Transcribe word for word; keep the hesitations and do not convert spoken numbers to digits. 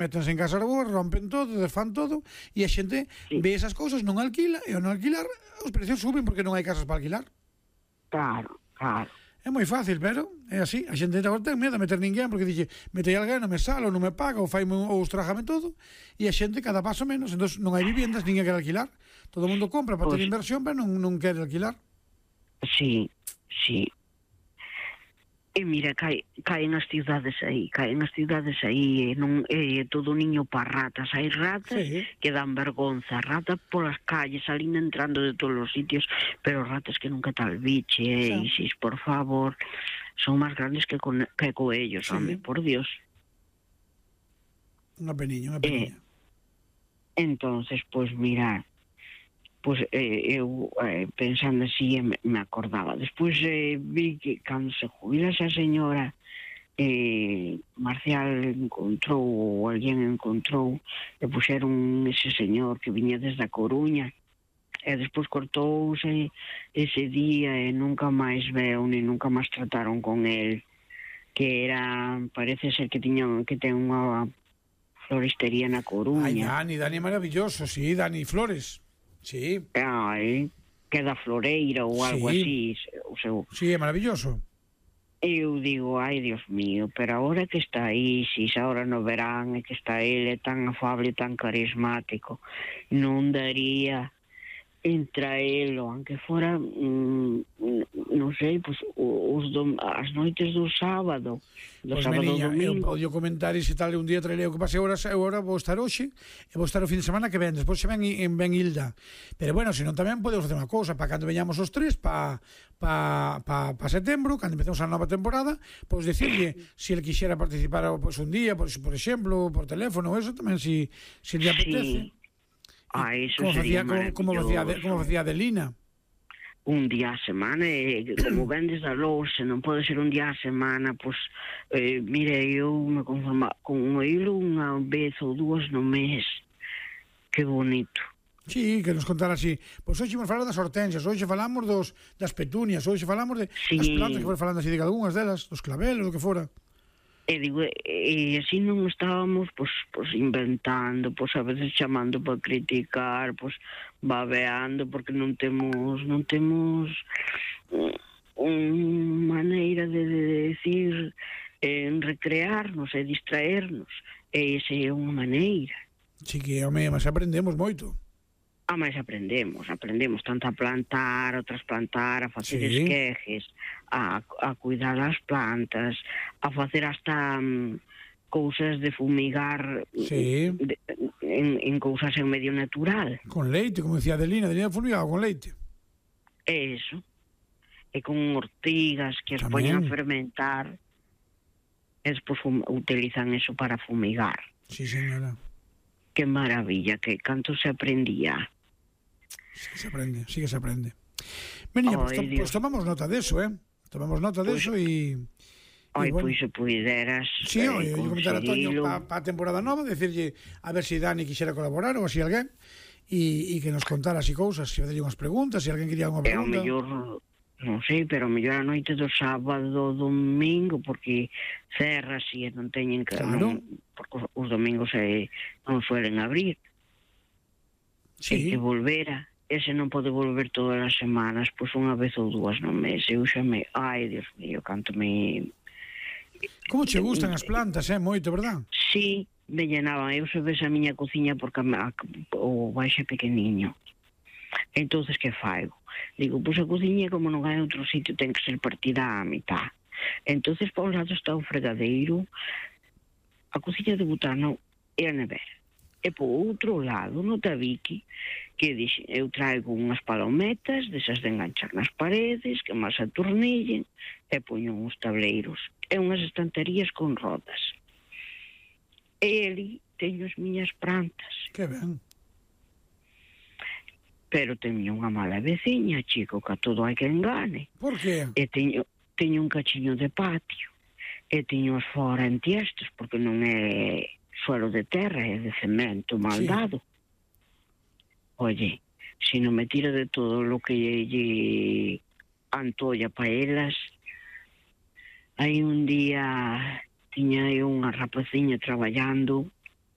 métanse en casa boas, rompen todo, desfan todo, e a xente Sí. ve esas cousas, non alquila, e ao non alquilar, os precios suben porque non hai casas para alquilar. Claro, claro. É moi fácil, pero é así. A xente agora ten medo a meter ninguén porque dixe, metei alguén, non me sale, ou non me paga, ou faime ou estrájame todo, e a xente cada paso menos, entón non hai viviendas, ninguén quere alquilar. Todo o mundo compra para Pois- ter inversión, pero non, non quere alquilar. Sí, sí. E mira, cae, caen as cidades aí, caen as cidades aí, e non é todo niño para ratas. Hai ratas Sí. que dan vergonza, ratas polas calles, salindo entrando de todos os sitios, pero ratas que nunca tal biche, eh, Sí. Isis, por favor, son máis grandes que, con, que coellos, Sí. home, por Dios. Unha peniña, unha peniña. Entonces, pois mira, pois eh, eu eh, pensando así me, me acordaba. Despois eh, vi que cando se jubila esa señora, eh, Marcial encontrou, ou alguén encontrou, e puxeron ese señor que viña desde a Coruña, e despois cortouse ese día e nunca máis veu, ni nunca máis trataron con el, que era, parece ser que tiñan, que ten unha floristería na Ai, Coruña. Dani, Dani é maravilloso, sí, Dani Flores. Sí, Ai, que da Floreira ou algo Sí. así, o seu. sí, é maravilloso. Eu digo, ai, Dios mío, pero agora que está aí, si agora no verán, e que está ele tan afable, tan carismático, non daría entraelo, aunque fora, mm, non sei, pues, os dom as noites do sábado, do Pois, sábado meniña, eu domingo. podio comentar e se tal un día traerei o que pase agora, eu agora vou estar hoxe e vou estar o fin de semana que ven, despois se ven en Ben Hilda, pero bueno, senón tamén podemos facer unha cousa, para cando veñamos os tres pa, pa, pa, pa setembro, cando empecemos a nova temporada, pois decirlle se ele quixera participar pois, un día, por, por exemplo, por teléfono, eso tamén, se si, si le apetece. Sí. Ah, eso Como sería facía, como, como facía, maravilloso. como facía Adelina. Un día a semana, e como vendes da lousa, non pode ser un día a semana, pois, eh, mire, eu me conforma con oílo unha vez ou dúas no mes. Que bonito. Sí, que nos contara así. Pois hoxe vamos falar das hortensias, hoxe falamos dos, das petunias, hoxe falamos de, Sí. das plantas que foi falando así de algunhas delas, dos clavelos, do que fora. E digo, e así non estábamos, pois, pois inventando, pois a veces chamando para criticar, pois babeando, porque non temos, non temos unha maneira de, de decir, en recrearnos e distraernos. E esa é unha maneira. Sí que, home, mas aprendemos moito. Ah, mas aprendemos, aprendemos tanto a plantar, a trasplantar, a facer Sí. esquejes, a, a cuidar as plantas, a facer hasta um, cousas de fumigar Sí. de, en, en cousas en medio natural. Con leite, como decía Adelina, Adelina fumigaba con leite. Eso. E con ortigas que as Tamén. poñen a fermentar e despois fum, utilizan eso para fumigar. Sí, señora. Que maravilla, que canto se aprendía. Sí que se aprende, sí que se aprende. Meniña, Ai, pues, to, Dios. pues tomamos nota de eso, ¿eh? Tomamos nota de Pues- eso y... Ai, y bueno. pois se puideras Sí, eh, oye, yo comentar a Toño conseguilo. para pa a temporada nova, decirlle a ver si Dani quixera colaborar ou así alguén e, e que nos contara así cousas, se facerlle unhas preguntas, se alguén quería unha E ao pregunta. mellor, non sei, pero ao mellor a noite do sábado, domingo, porque cerra si e non teñen que... Claro. Non, porque os domingos eh, non suelen abrir. Sí, E que volvera. Ese non pode volver todas as semanas, pois unha vez ou dúas no mes. Eu xa me... Ai, Dios mío, canto me... como che gustan as plantas, eh? Moito, verdad? Sí, me llenaban. Eu se ves a miña cociña porque a, a, o baixo é pequeniño. Entonces, que faigo? Digo, pois a cociña, como non hai outro sitio, ten que ser partida á mitad. Entonces, para un lado está o fregadeiro, a cociña de butano e a nevera. E por outro lado, no tabique, que dixe, eu traigo unhas palometas, desas de enganchar nas paredes, que máis atornillen, e poño uns tableiros, e unhas estanterías con rodas. E ali teño as miñas plantas. Que ben. Pero teño unha mala veciña, chico, que a todo hai que engane. Por que? E teño, teño un cachiño de patio. E teño as fora en tiestos, porque non é suelo de terra, é de cemento mal Sí. dado. Oye, se non me tira de todo lo que lle antolla pa elas, hai un día tiña eu unha rapaciña traballando